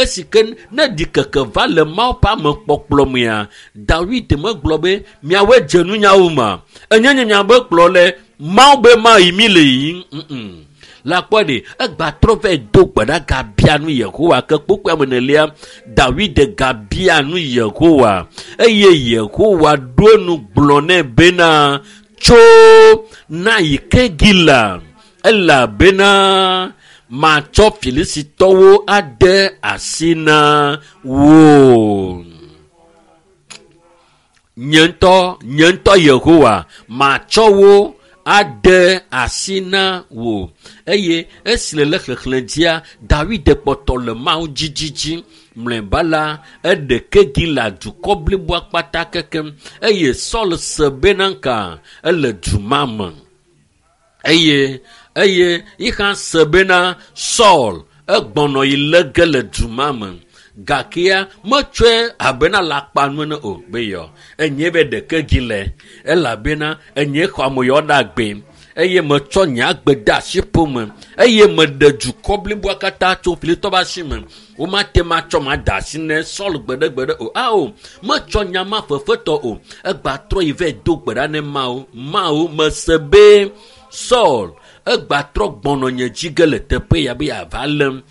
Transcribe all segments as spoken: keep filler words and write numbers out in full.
Esi ke ne ɖikeke va le Mawu ƒe amekpɔkplɔ mea, Dawid megblɔ be miawoe dze nunyawo ma. Enye nye miabe kplɔ le Mawu be ma yi mi le yiyim. Mm-mm. La kpɔ ɖe egba trɔ vɛ do gbe ɖa gabia nu Yehowa ke kpokpoe ame enelia Dawid gabia nu Yehowa eye Yehowa ɖo enu gblɔ nɛ bena tso na yi Kegila elabena matsɔ Filisitɔwo ade asi na wò. Nye ŋutɔ, nye ŋutɔ Yehowa matsɔ wo ade asi na wò. Eye esi le le xexlẽ dzia, Dawid kpɔtɔ le Mawu dzidzidzi. Mlɔeba la, eɖe Kegila dukɔ bliboa kpata kekem eye Saul se bena ka ele du ma me. Eye eye yihã se bena Saul egbɔnɔ yi lé ge le du ma me. Gakea metsɔe abena lakpanu ene o be yɔ enye be ɖeke dzi le elabena enye xɔ ame yɔ ɖe agbe eye metsɔ nye agbe de asi ƒome eye meɖe dukɔ bliboa katã tso Filistitɔwo ƒe asi me. Womate ŋu atsɔ ma de asi ne Saul gbeɖegbeɖe o. Ao, metsɔ nya ma fefetɔ o. Egba trɔ yi vɛ do gbe ɖa ne Mawu. Mawu mese be Saul egba trɔ gbɔnɔ nye dzi ge le teƒe ya be yeava lém.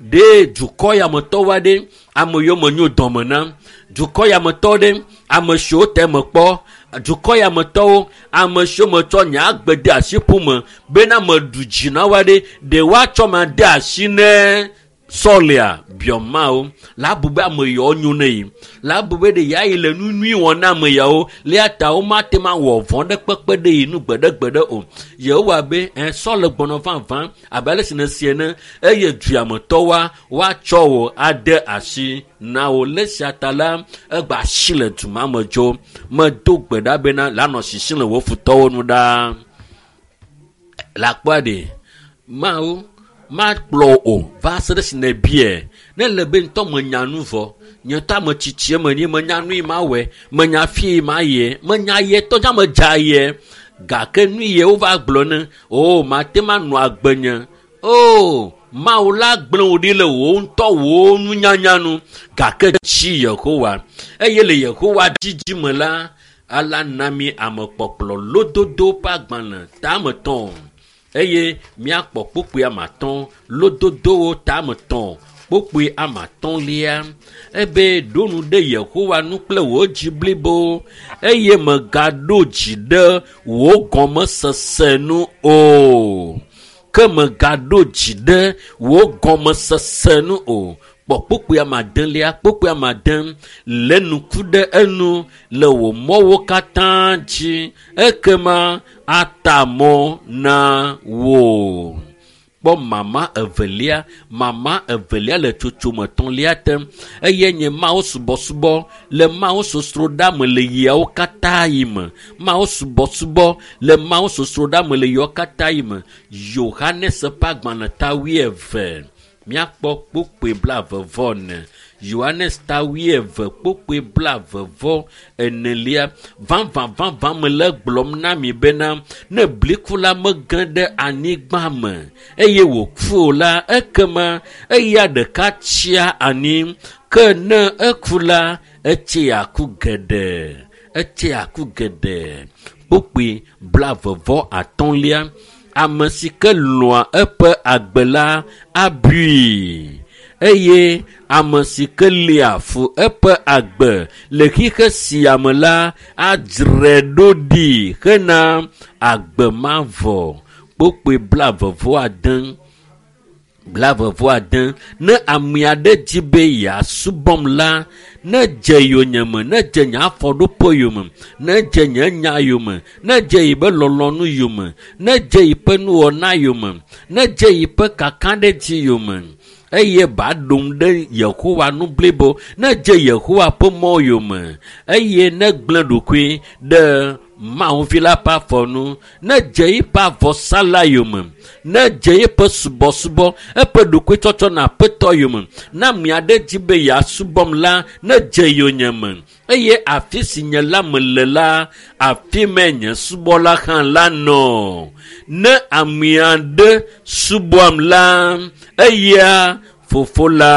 Ɖe dukɔ yametɔwo aɖe ame yiwo menyo dɔme na dukɔ yametɔ ɖe ame siwo te me kpɔ dukɔ yametɔwo ame siwo metsɔ nye agbe de asi ƒome bena meɖu dzi na wo aɖe ɖe woatsɔ ma de asi ne Sɔlia biɔ Mawu la bu be ame yawo nyo ne yi la bu be ɖe ya yi le nu nyui wɔm na ame yawo le ta womate ŋu awɔ vɔ̃ ɖe kpekpe ɖe yi nu gbeɖegbeɖe o. Yehowa be ɛ Saul gbɔnɔ vavã abe ale si nèsi ene eye duametɔwoa woatsɔ wò ade asi na wò. Le esia ta la egba asi le du ma me dzo. Medo gbe ɖa bena lanɔ sisim le wò futɔwo nu ɖaa. Le akpɔa ɖe Mawu makplɔ o va se ɖe si nèbiae. Ne le be ŋutɔ menya nu vɔ, nye ŋutɔ ame tsitsie menye menya nu yi mawɔe, menya fi yi mayie, menya ye tɔ dza medza ye. Gake nu ye wova gblɔ ne o mate ŋu anɔ agbe nye. O Mawu la gblẽ wò ɖi le wò ŋutɔ wò nunyanya nu gake tsi Yehowa eye le Yehowa dzidzi me la ala na mi amekpɔkplɔ lododo ƒe agbalẽ tame tɔ̃ eye míakpɔ kpukpui ame atɔ̃ lododowo tame tɔ̃ kpukpui ame atɔ̃lia ebe ɖo nu ɖe Yehowa nu kple wò dzi blibo eye mègaɖo dzi ɖe wò gɔmesese nu o. Ke mègaɖo dzi ɖe wò gɔmesese nu o. Kpɔ kpukpui ame adelia, kpukpui ame ade lé ŋku ɖe enu le wò mɔwo katã dzi ekema ata mɔ na wò. Kpɔ mama evelia, mama evelia le tsotsome etɔ̃lia te eye nye Mawu subɔsubɔ le Mawu sosroɖa me le ɣiawo katã yi me. Mawu subɔsubɔ le Mawu sosroɖa me le ɣiawo katã yi me. Yohanes ƒe agbalẽ ta wuieve. Míakpɔ kpukpui blaeve vɔ ene. Yohanes ta wuieve kpukpui blaeve vɔ enelia. Vavã vavã mele gblɔm na mi bena ne bliku la mege ɖe anyigba me eye wòku o la ekema eya ɖeka tsia anyi ke ne eku la etsea ku geɖe. Etsea ku geɖe. Kpukpui blaeve vɔ atɔ̃lia. Ame si ke lɔ̃a eƒe agbe la abui eye ame si ke lia fu eƒe agbe le xixe sia me la adzrae ɖo ɖi hena agbe mavɔ. Kpukpui blaeve vɔ ade. Blaeve vɔ ade. Ne ame aɖe di be yeasubɔm la, ne dze yonyeme, ne dze nye afɔɖoƒe yome, ne dze nye nya yome, ne dze yiƒe lɔlɔ̃nu yome, ne dze yiƒe nuwɔna yome, ne dze yiƒe kakaɖedzi yome eye ba ɖom ɖe Yehowa nu blibo, ne dze Yehowa ƒe mɔ yome eye ne gblẽ ɖokui ɖe Mawu vi la ƒe afɔ nu, ne dze yiƒe avɔsala yome, ne dze yiƒe subɔsubɔ, eƒe ɖokuitsɔtsɔ na Aƒetɔ yome, ne ame aɖe di be yeasubɔm la, ne dze yonyeme eye afi si nye la mele la, afi mae nye subɔla hã la nɔ. Ne ame aɖe subɔam la, eya fofo la